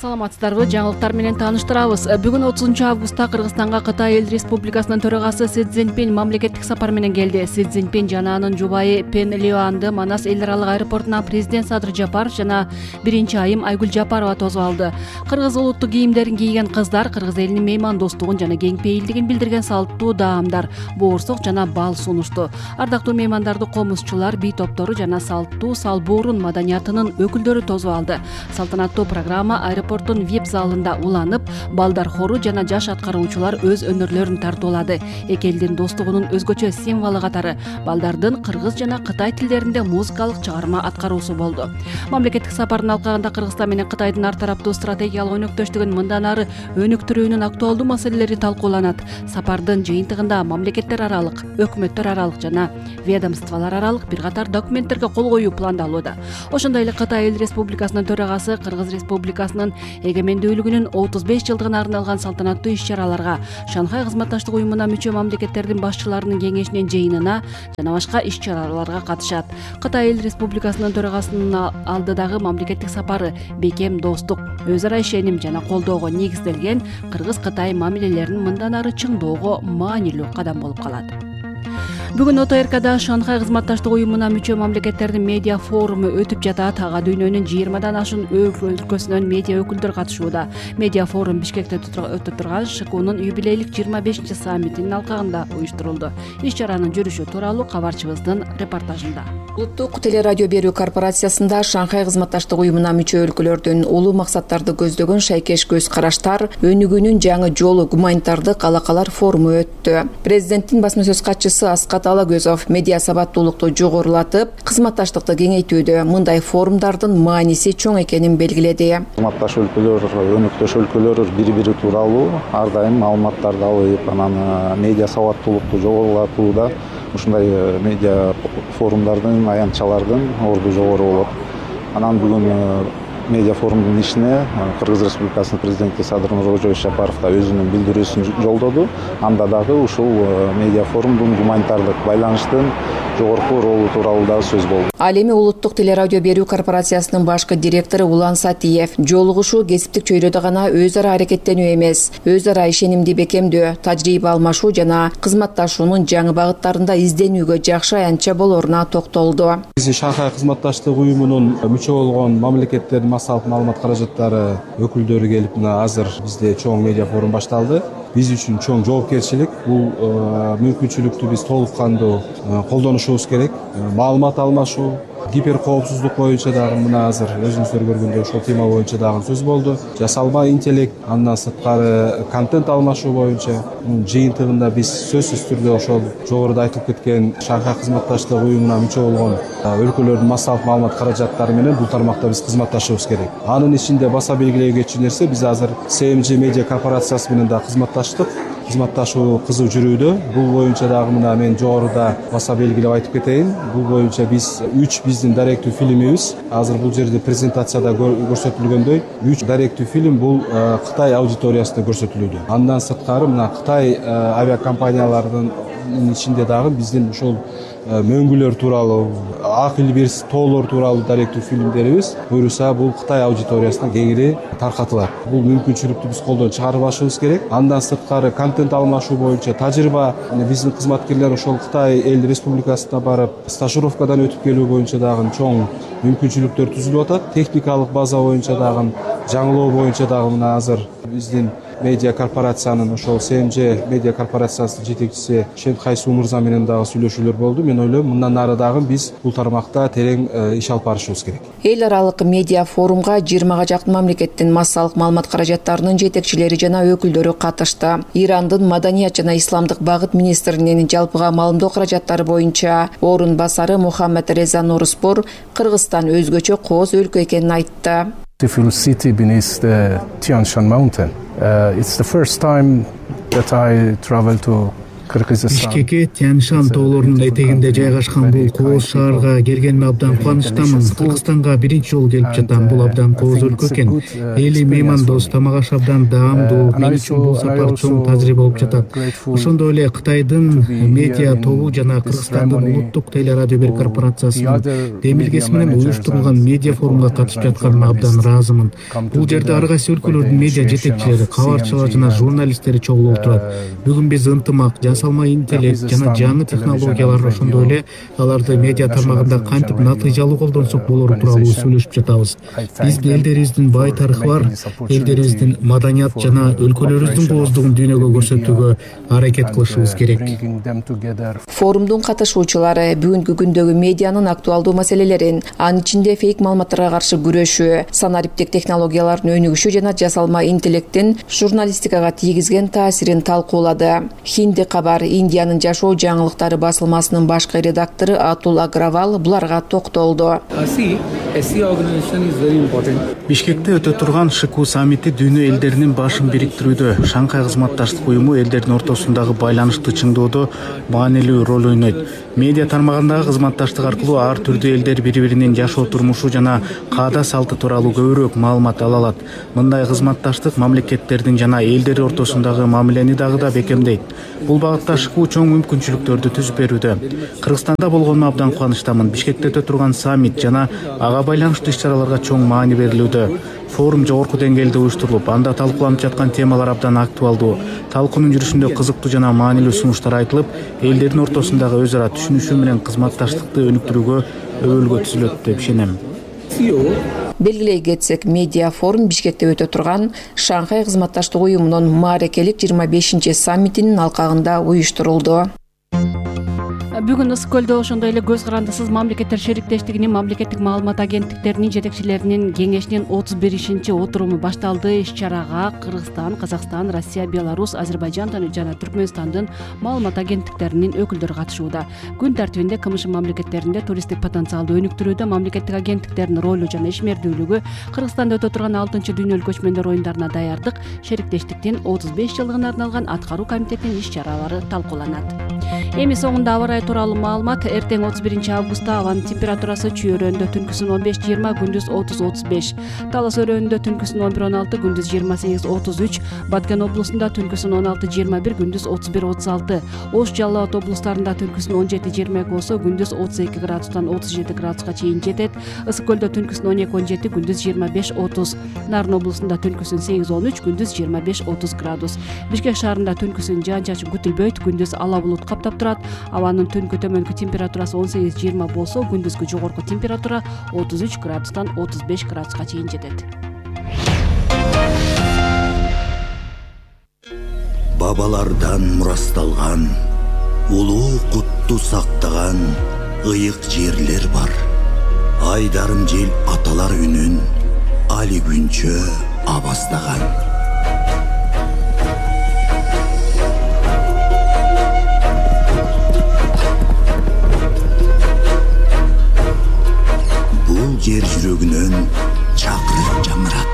Саламатсыздарбы? Жаңылыктар менен тааныштырабыз. Бүгүн 30 августта Кыргызстанга Кытай Эл Республикасынын төрагасы Си Цзиньпин мамлекеттик сапар менен келди. Си Цзиньпин жана анын жубайы Пен Лиоанды Манас эл аралык аэропортуна президент Садыр Жапаров жана биринчи айым Айгүл Жапарова тосуп алды. Кыргыз улуттук кийимдерин кийген кыздар кыргыз элинин меймандостугун жана кеңпейилдигин билдирген салттуу даамдар, боорсок жана бал сунушту. Ардактуу меймандарды комузчулар, бий топтору жана салттуу салбуурун маданиятынын өкүлдөрү тосуп алды. Салтанаттуу программа аэропорттун VIP залында уланып, балдар хору жана жаш аткаруучулар өз өнөрлөрүн тартуулады. Эки элдин достугунун өзгөчө символу катары балдардын кыргыз жана кытай тилдеринде музыкалык чыгарма аткаруусу болду. Мамлекеттик сапардын алкагында Кыргызстан менен Кытайдын ар тараптуу стратегиялык өнөктөштүгүн мындан ары өнүктүрүүнүн актуалдуу маселелери талкууланат. Сапардын жыйынтыгында мамлекеттер аралык, өкмөттөр аралык жана ведомстволор аралык бир катар документтерге кол коюу пландалууда. Ошондой эле Кытай Эл Республикасынын төрагасы Кыргыз Республикасынын эгемендүүлүгүнүн 35 жылдыгына арналган салтанаттуу иш-чараларга, Шанхай кызматташтык уюмуна мүчө мамлекеттердин башчыларынын кеңешинин жыйынына жана башка иш-чараларга катышат. Кытай Эл Республикасынын төрагасынын алдыдагы мамлекеттик сапары бекем достук, өз ара ишеним жана колдоого негизделген Кыргыз-Кытай мамилелерин мындан ары чыңдоого маанилүү кадам болуп калат. Бүгүн ОТРКда Шанхай кызматташтык уюмуна мүчө мамлекеттердин медиа форуму өтүп жатат. Ага дүйнөнүн 20дан ашуун өлкөсүнөн медиа өкүлдөр катышууда. Медиа форум Бишкекте өтүп турган ШКУнун юбилейлик 25 саммитинин алкагында уюштурулду. Иш-чаранын жүрүшү тууралуу кабарчыбыздын репортажында. Улуттук телерадио берүү корпорациясында Шанхай кызматташтык уюмуна мүчө өлкөлөрдүн улуу максаттарды көздөгөн шайкеш көз караштар, өнүгүүнүн жаңы жолу гуманитардык алакалар форуму өттү. Президенттин басма сөз катчысы Аскат Алагөзов медиа сабаттуулукту жогорулатып, кызматташтыкты кеңейтүүдө мындай форумдардын мааниси чоң экенин белгиледи. Кызматташ өлкөлөр, өнөктөш өлкөлөр бири-бири тууралуу ар дайым маалыматтарды алып, анан медиа сабаттуулукту жогорулатууда ушундай медиа форумдардын, аянтчалардын орду жогору болот. Анан бүгүн медиа форумдун ишине Кыргыз Республикасынын президенти Садыр Нуркожоевич Жапаров да өзүнүн билдирүүсүн жолдоду. Анда дагы ушул медиа форумдун гуманитардык байланыштын жогорку ролу тууралуу дагы сөз болду. Ал эми Улуттук телерадио берүү корпорациясынын башкы директору Улан Сатиев жолугушуу кесиптик чөйрөдө гана өз ара аракеттенүү эмес, өз ара ишенимди бекемдөө, тажрыйба алмашуу жана кызматташуунун жаңы багыттарында изденүүгө жакшы аянтча болоруна токтолду. Биздин Шанхай кызматташтык уюмунун мүчө болгон мамлекеттердин массалык маалымат каражаттары өкүлдөрү келип, мына азыр бизде чоң медиа форум башталды. Биз үчүн чоң жоопкерчилик. Бул мүмкүнчүлүктү биз толук кандуу колдонушубуз керек. Маалымат алмашуу, гиперкоопсуздук боюнча дагы мына азыр өзүңүздөр көргөндөй ошол тема боюнча дагы сөз болду. Жасалма интеллект, андан сырткары контент алмашуу боюнча жыйынтыгында биз сөзсүз түрдө ошол жогоруда айтылып кеткен Шанхай кызматташтык уюмуна мүчө болгон өлкөлөрдүн массалык маалымат каражаттары менен бул тармакта биз кызматташыбыз керек. Анын ичинде баса белгилөө кетчү нерсе, биз азыр CMG медиа корпорациясы менен да кызматташтык. Кызматташуу кызуу жүрүүдө. Бул боюнча дагы мына мен жогоруда баса белгилеп айтып кетейин. Бул боюнча биз 3 биздин даректүү фильмибиз, азыр бул жерде презентацияда көрсөтүлгөндөй 3 даректүү фильм бул Кытай аудиториясына көрсөтүлүүдө. Андан сырткары мына Кытай авиакомпанияларынын ичинде дагы биздин ушул мөңгүлөр тууралуу, ак илбирс тоолор тууралуу даректүү фильмдерибиз буюрса бул Кытай аудиториясына кеңири таркатылат. Бул мүмкүнчүлүктү биз колдон чыгарбашыбыз керек. Андан сырткары контент алмашуу боюнча тажрыйба биздин кызматкерлер ошол Кытай Эл Республикасына барып стажировкадан өтүп келүү боюнча дагы чоң мүмкүнчүлүктөр түзүлүп атат. Техникалык база боюнча дагы, жаңылоо боюнча дагы мына азыр биздин медиа корпорациянын ошол CMG медиа корпорациясынын жетекчиси Шенхайсу мырза менен дагы сүйлөшүүлөр болду. Мен ойлойм, мындан ары дагы биз бул тармакта терең иш алып барышыбыз керек. Эл аралык медиа форумга 20га жакын мамлекеттин массалык маалымат каражаттарынын жетекчилери жана өкүлдөрү катышты. Ирандын маданият жана исламдык багыт министринин жалпыга маалымдоо каражаттары боюнча орун басары Мухаммед Реза Нуруспур Кыргызстан өзгөчө кооз өлкө экенин айтты. Beautiful city beneath the Tian Shan mountain. It's the first time that I travel to Бишкекке Тянь-Шань тоолорунун этегинде жайгашкан бул кооз шаарга келгениме абдан кубанычтамын. Кыргызстанга биринчи жолу келип жатам. Бул абдан кооз өлкө экен. Эли меймандос, тамак аш абдан даамдуу. Мен үчүн бул сапар чоң тажрыйба болуп жатат. Ошондой эле Кытайдын медиа тобу жана Кыргызстандын улуттук телерадио берүү корпорациясынын демилгеси менен уюштурулган медиа форумга катышып жатканыма абдан ыраазымын. Бул жерде ар кайсы өлкөлөрдүн медиа жетекчилери, кабарчылар жана журналисттери чогулуп отурат. Бүгүн биз ынтымак, жасалма интеллект жана жаңы технологиялар, ошондой эле аларды медиа тармагында кантип натыйжалуу колдонсок болору тууралуу сүйлөшүп жатабыз. Биздин элдерибиздин бай тарыхы бар, элдерибиздин маданият жана өлкөлөрүбүздүн кооздугун дүйнөгө көрсөтүүгө аракет кылышыбыз керек. Форумдун катышуучулары бүгүнкү күндөгү медианын актуалдуу маселелерин, анын ичинде фейк маалыматтарга каршы күрөшүү, санариптик технологиялардын өнүгүшү жана жасалма интеллекттин журналистикага тийгизген таасирин талкуулады. Хинди кабар Индиянын жашоо жаңылыктары басылмасынын башкы редактору Атул Агравал буларга токтолду. Бишкекте өтө турган ШКУ саммити дүйнө элдеринин башын бириктирүүдө, Шанхай кызматташтык уюму элдердин ортосундагы байланышты чыңдоодо маанилүү роль ойнойт. Медиа тармагындагы кызматташтык аркылуу ар түрдүү элдер бири-биринин жашоо турмушу жана каада салты тууралуу көбүрөөк маалымат ала алат. Мындай кызматташтык мамлекеттердин жана элдер ортосундагы мамилени дагы да бекемдейт. Бул багытта ШКУ чоң мүмкүнчүлүктөрдү түзүп берүүдө. Кыргызстанда болгонума абдан кубанычтамын. Бишкекте өтө турган саммит жана ага байланыштуу иш-чараларга чоң маани берилүүдө. Форум жогорку деңгээлде уюштурулуп, анда талкууланып жаткан темалар абдан актуалдуу. Талкуунун жүрүшүндө кызыктуу жана маанилүү сунуштар айтылып, элдердин ортосундагы өз ара түшүнүшүү менен кызматташтыкты өнүктүрүүгө өбөлгө түзүлөт деп ишенем. Белгилей кетсек, медиа форум Бишкекте өтө турган Шанхай кызматташтык уюмунун маарекелик 25 саммитинин алкагында уюштурулду. Бүгүн Ысык көлдө ошондой эле көз карандысыз мамлекеттер шериктештигинин мамлекеттик маалымат агенттиктеринин жетекчилеринин кеңешинин 31-ши отуруму башталды. Иш-чарага Кыргызстан, Казакстан, Россия, Беларусь, Азербайжан жана Түркмөнстандын маалымат агенттиктеринин өкүлдөрү катышууда. Күн тартибинде КМШ мамлекеттеринде туристтик потенциалды өнүктүрүүдө мамлекеттик агенттиктердин ролу жана ишмердүүлүгү, Кыргызстанда өтө турган 6-дүйнөлүк көчмөндөр оюндарына даярдык, шериктештиктин 35 жылдыгына арналган аткаруу комитетинин иш-чаралары талкууланат. Эми соңунда аба ырайы тууралуу маалымат. Эртең 31 августта абанын температурасы Чүй өрөөнүндө түнкүсүн 15-20, күндүз 30-35. Талас өрөөнүндө түнкүсүн 11-16, күндүз 28-33. Баткен облусунда түнкүсүн 16-21, күндүз 31-36. Ош, Жалал Абад облустарында түнкүсүн 17-22 болсо, күндүз 32 градустан 37 градуска чейин жетет. Ысык көлдө түнкүсүн 12-17, күндүз 25-30. Нарын облусунда түнкүсүн 8-13, күндүз 25-30 градус. Бишкек шаарында түнкүсүн жаан-чачын күтүлбөйт, күндүз ала булут каптап турат. Абанын түнкү төмөнкү температурасы 18-20 болсо, күндүзгү жогорку температура 33 градустан 35 градуска чейин жетет. Бабалардан мурасталган, улуу кутту сактаган ыйык жерлер бар. Айдарым жел аталар үнүн али күнчө абастаган. Бул жер жүрөгүнөн чакырып жамырат.